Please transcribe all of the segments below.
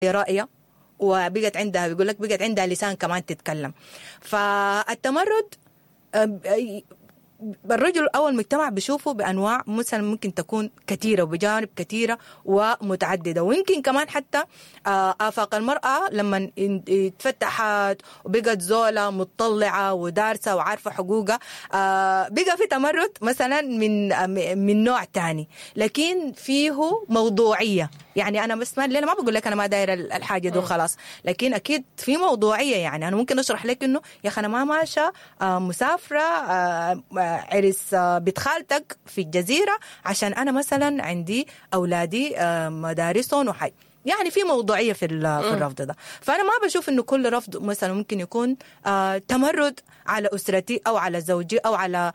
رأيه وبقت عندها، بيقول لك بقت عندها لسان كمان تتكلم. فالتمرد الرجل او المجتمع بيشوفه بانواع مثلا ممكن تكون كثيرة وبجانب كثيرة ومتعددة، ويمكن كمان حتى افاق المراة لما اتفتحت وبقت زوله متطلعه ودارسه وعارفه حقوقها، بقى في تمرد مثلا من نوع تاني لكن فيه موضوعية. يعني انا بس ما ما بقول لك انا ما دايرة الحاجة دي وخلاص، لكن اكيد في موضوعية. يعني انا ممكن اشرح لك انه يا اخي انا ما ماشية مسافرة عرس بنت خالتك في الجزيرة عشان انا مثلا عندي اولادي مدارسهم وحي، يعني في موضوعية في الرفض ده. فانا ما بشوف انه كل رفض مثلا ممكن يكون تمرد على اسرتي او على زوجي او على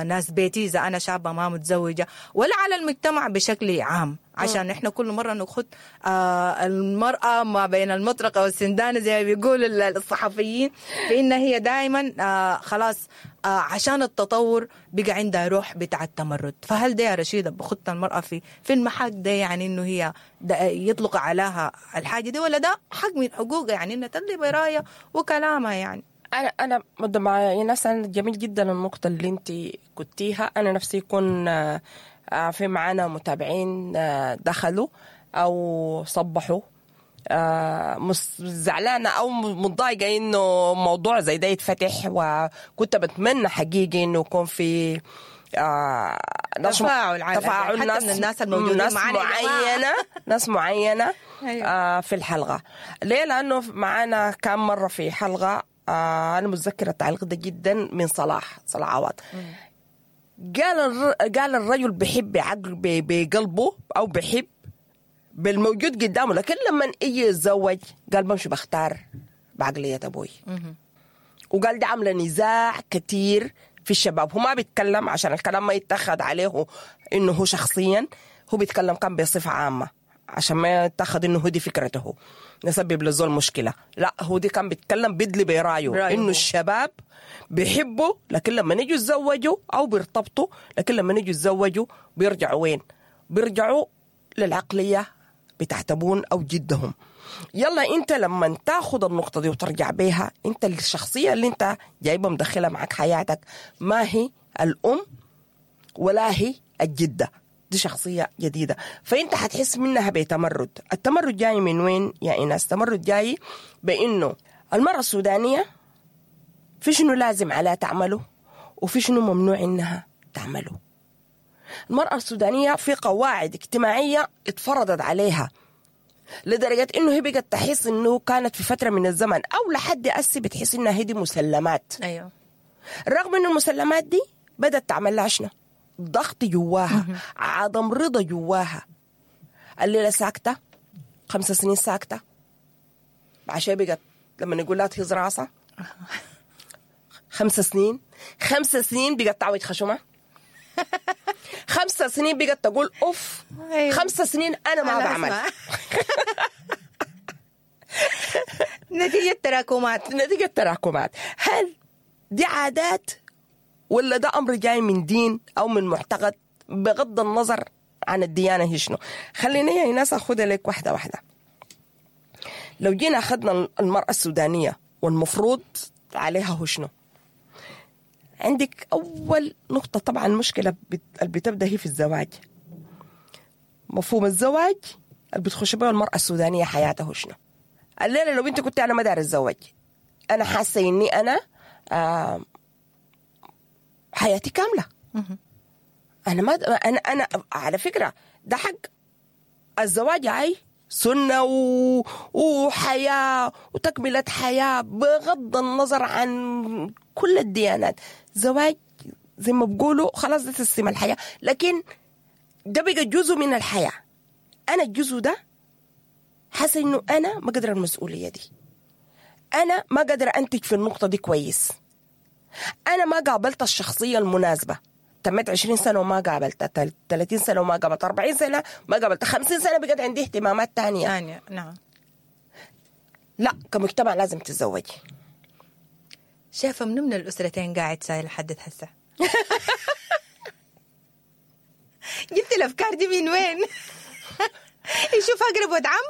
ناس بيتي اذا انا شابه ما متزوجة، ولا على المجتمع بشكل عام. عشان احنا كل مرة نخد المراة ما بين المطرقة والسندانه زي ما بيقولوا الصحفيين، فان هي دائما خلاص عشان التطور بقى عندها روح بتاع التمرد. فهل ده يا رشيده بخط المراة في المحك ده، يعني انه هي يطلق عليها الحاجة دي، ولا ده حق من حقوقها يعني انها تدلي برايه وكلامها؟ يعني انا مع ناس، أنا جميل جدا النقطة اللي انت قلتيها. انا نفسي يكون في معانا متابعين دخلوا او صبحوا زعلانة او متضايقة انه موضوع زي ده يتفتح، وكنت بتمنى حقيقي انه يكون في تفاعل، تفاعل حتى من الناس الموجودين ناس معانا معينة ناس معينة في الحلقة. ليه؟ لانه معانا كام مرة في حلقة انا متذكرة التعليق ده جدا من صلاح عوض. قال الرجل بحب بعقل بقلبه او بحب بالموجود قدامه، لكن لما يجي يتزوج قال بمشي بختار بعقلية ابوي. وقال ده عامله نزاع كتير في الشباب. هو ما بيتكلم عشان الكلام ما يتخذ عليه انه هو شخصيا، هو بيتكلم كان بصفة عامة عشان ما يتخذ انه هو دي فكرته نسبب للزول مشكلة. لا، هو دي كان بيتكلم بدلي برايه انه الشباب بيحبوا، لكن لما نيجوا يتزوجوا او بيرتبطوا، لكن لما نيجوا يتزوجوا بيرجعوا وين؟ بيرجعوا للعقليه بتاعت ابوهم او جدهم. يلا انت لما تاخذ النقطة دي وترجع بيها، انت الشخصية اللي انت جايبها مدخلها معك حياتك ما هي الام ولا هي الجدة، دي شخصية جديدة، فانت حتحس منها بتمرد. التمرد جاي من وين يا ايناس؟ التمرد جاي بانه المراة السودانية في شنو لازم عليها تعمله وفي شنو ممنوع انها تعمله. المرأة السودانية في قواعد اجتماعية اتفرضت عليها لدرجة انه هي بقت تحس انه كانت في فترة من الزمن او لحد اسي بتحس انها هي دي مسلمات. ايوه، رغم انه المسلمات دي بدأت تعمل لها شنو؟ ضغط جواها، عدم رضا جواها. الليلة ساكتة 5 سنين ساكتة، عشان بقت لما نقول لها تهز راسها 5 سنين، 5 سنين بقت تعوج خشمها، 5 سنين بقت تقول اوف، 5 سنين انا ما بعمل. نتيجة تراكمات، نتيجة تراكمات. هل دي عادات ولا ده امر جاي من دين او من معتقد؟ بغض النظر عن الديانة هي شنو. خليني يا ناس اخذها لك واحدة واحدة. لو جينا اخذنا المرأة السودانية والمفروض عليها هو شنو؟ عندك أول نقطة طبعا المشكلة اللي بتبدأ هي في الزواج. مفهوم الزواج اللي بتخش بيه المرأة السودانية حياتها شنو؟ الليلة لو أنت كنت أنا ما دايرة أتزوج، أنا حاسة إني أنا حياتي كاملة. أنا ما أنا على فكرة ده حق الزواج، عاي سنة وحياة وتكملة حياة بغض النظر عن كل الديانات. زواج زي ما بقولوا خلاص ده تسليم الحياة، لكن ده بقى جزء من الحياة. أنا الجزء ده حاسة إنه أنا ما قادرة المسؤولية دي، أنا ما قادرة أنتج في النقطة دي كويس، أنا ما قابلت الشخصية المناسبة. تمت 20 سنة وما قابلتها، 30 سنة وما قابلتها، 40 سنة ما قابلتها، 50 سنة بقت عندي اهتمامات تانية. نعم. لا، كمجتمع لازم تتزوجي. شايفة منو من الأسرتين قاعد سايل لحد هسه؟ جبت الأفكار دي من وين؟ يشوف اقرب ود عم.